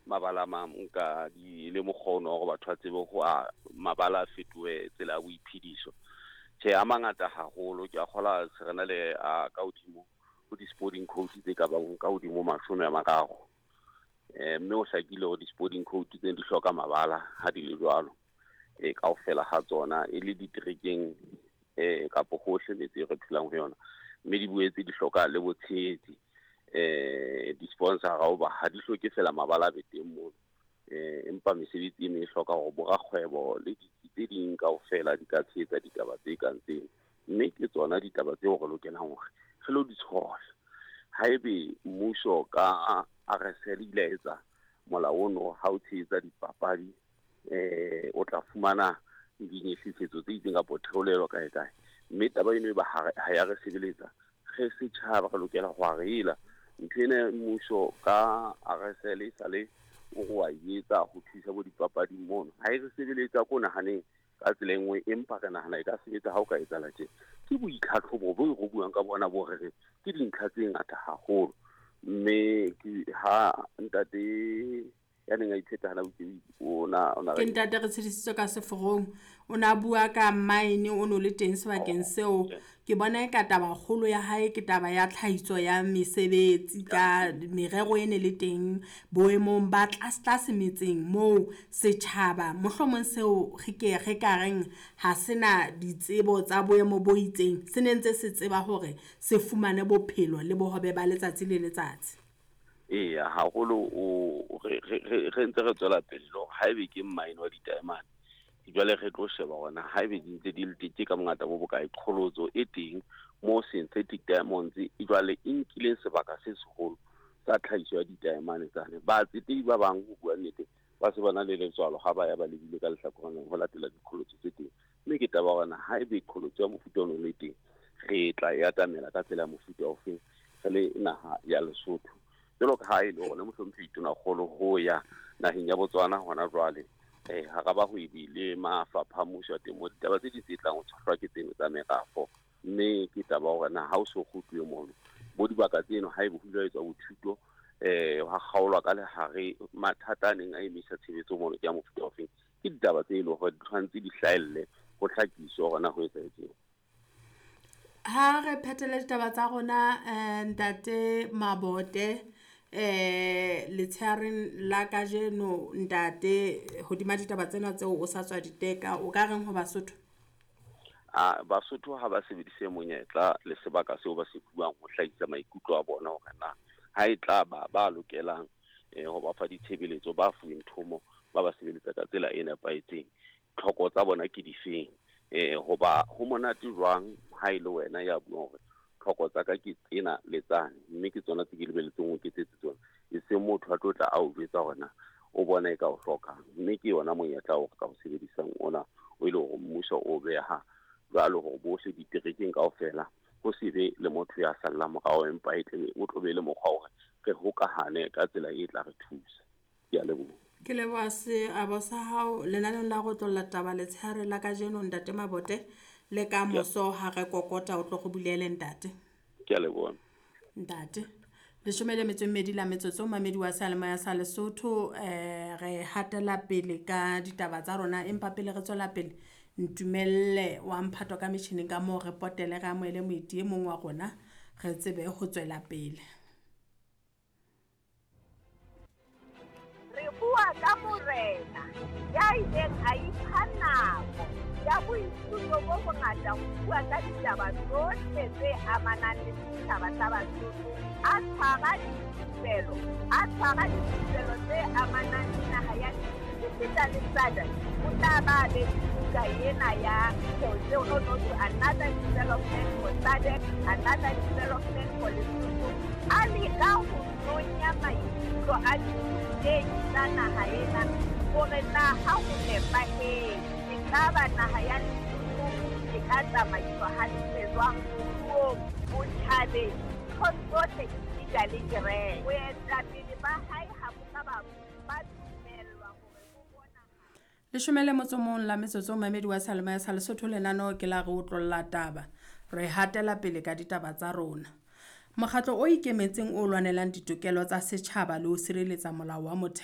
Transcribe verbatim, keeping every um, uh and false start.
Mabala a mang nka di le mokgono hore batho ba tsebe ho a mabala a fetohe tsela ya boiphediso. Tjhe, a mangata haholo, ke a kgola se re na le a ka hodimo ho di-sporting code tse ka bang ka hodimo mashome a mararo. Eh, mme ho hlakile hore di-sporting code tsena di hloka mabala ha di le jwalo. E kaofela ha tsona e le diterekeng eh kapo hohle metse e re phelang ho yona. Mme di boetse di hloka le botshehetsi, eh di-sponsor-a hoba ha di hloke fela mabala a be teng mono. Eh empa mesebetsi e meng e hloka hore borakgwebo le ditsi tse ding kaofela di ka tshehetsa ditaba tse kang tseno. Mme ke tsona ditaba tseo re lokelang hore re lo di tshohla. Haebe mmuso ka R S L ile a etsa molao ono ha o tshehetsa dipapadi, eh o tla fumana dinyehlisetso tse itseng kapa theolelo kae kae. Mme taba eno e ba ha re, ha ya re sebeletsa, re setjhaba re lokela ho a re ela. Ntho ena mmuso ka R S L e sale o re wa e etsa ho thusa bo dipapading mono. Ha e re sebeletsa ko nahaneng ka tsela e nngwe, empa re nahana e ka sebetsa ha o ka etsahala tje. Ke boitlhatlhobo bo re buang ka bona bo re re ke dintlha tse ngata haholo. Mme ke ha ntate ya neng a itheta hana botsebi, o na, o na Ke ntate re tshedisitswe ka seforong. O na bua ka mine, o no le teng sebakeng Oh, seo. okay. Ke bona e ka taba kgolo ya hae ke taba ya tlhahiso ya mesebetsi ka merero e ne le teng boemong ba tlase tlase metseng moo setjhaba mohlomong seo re ke re ka reng ha sena ditsebo tsa boemo bo itseng, se ne ntse se tseba hore se fumane bophelo le bohobe ba letsatsi le letsatsi. Eya, haholo o re, re, re, re ntse re tswela pele le hore haebe ke mine wa ditaemane, jwale re tlo sheba hore na haebe di ntse di le teng, ke ka bongata bo bokae qholotso e teng mo synthetic diamonds e jwale e nkileng sebaka se seholo sa tlhahiso ya ditaemane tsane. Batsetedi ba bang ho bua nnete ba se ba na le letswalo ha ba ya ba lebile ka lehlakoreng ho latela diqholotso tse teng. Mme ke taba hore na haebe qholotso ya mofuta ono le teng, re tla e atamela ka tsela ya mofuta ofeng re le naha ya Lesotho. Jwalo ka ha e le hore mohlomphehi Tonakgolo ho ya naheng ya Botswana hona jwale, eh, hara bahwebi le mafapha a mmuso a temo, ditaba tse ding tse tlang ho tshohlwa ke tseno tsa merafo. Mme ke taba hore na ha o so kgutluwe mono, bo dibaka tseno haebe ho ile ha etswa bothuto, eh, ha kgaolwa ka lehare mathata a neng a emisa tshebetso mono ke a mofuta ofeng. Ke ditaba tse leng hore di tshwanetse di hlahelle ho hlakiswe hore na ho etsahetseng. Ha re phethele ditaba tsa rona, eh, ntate Mabote, eh, letsheareng la kajeno ntate, hodima ditaba tsena tseo o sa tswa di teka, o ka reng ho Basotho? Ah, Basotho ha ba sebedise monyetla le sebaka seo ba se fuwang ho hlahisa maikutlo a bona hore na ha e tla ba ba lokelang, eh, ho ba fa ditshebeletso ba fuweng thomo, ba ba sebeletsa ka tsela e nepahetseng. Tlhoko tsa bona ke difeng? Eh, hoba ho monate jwang ha e le wena ya buang hore tlhoko tsa ka ke tsena le tsane, mme ke tsona tse ke lebeletseng ho ketsetse tsona, e seng motho a tlo tla a o jwetsa hore na o bona e ka o hlokang. Mme ke yona monyetla o re ka o sebedisang ona, o e le hore mmuso o beha jwalo hore bohle diterekeng kaofela ho se be le motho ya sallang morao, empa e tle o tlo be le mokgwa hore re hokahane ka tsela e tla re thusa. Ke a leboha. Ke leboha seabo sa hao lenaneong la go tlolla taba letshehare la kajeno ntate Mabote, le ka Ke a moso ha re kokota o tlo go bulele ntate. Ke a leboha. Ntate, leshome le metso e mmedi la metsotso, mamedi wa seyalemoya sa Lesotho, eh, re hatela pele ka ditaba tsa rona, empa pele re tswela pele, ntumelle wa mphato ka metjhining ka moo re potele re amohele moeti e mong wa rona, re tsebe ho tswela pele. Re bua ka morena ya ileng a ipha nako ya boithuto bo bongata ho bua ka ditaba tsohle tse amanang le setjhaba sa Basotho, a tshwara dithupelo, a tshwara dithupelo tse amanang le naha ya esita le S A D C. O tla ba be le buka ena ya Tseo no to another development for S A D C, another development for Lesotho. A leka ho nonya maikutlo a dithutehi tsa naha ena hore na ha ho nepahetse, ekaba naha ya Lesotho e ka tsamaiswa hantle jwang moruong, botjhabeng, nthong tsohle esita le kereke. Boetapele ba hae ha bo ka ba ba dumellwa hore bo bonahale. Leshome le motso mong la metsotso, mamedi wa seyalemoya sa Lesotho, lenaneo ke la re otlolla taba. Re hatela pele ka ditaba tsa rona. Mokgatlo o ikemetseng o lwanelang ditokelo tsa setjhaba le ho sireletsa molao wa motheo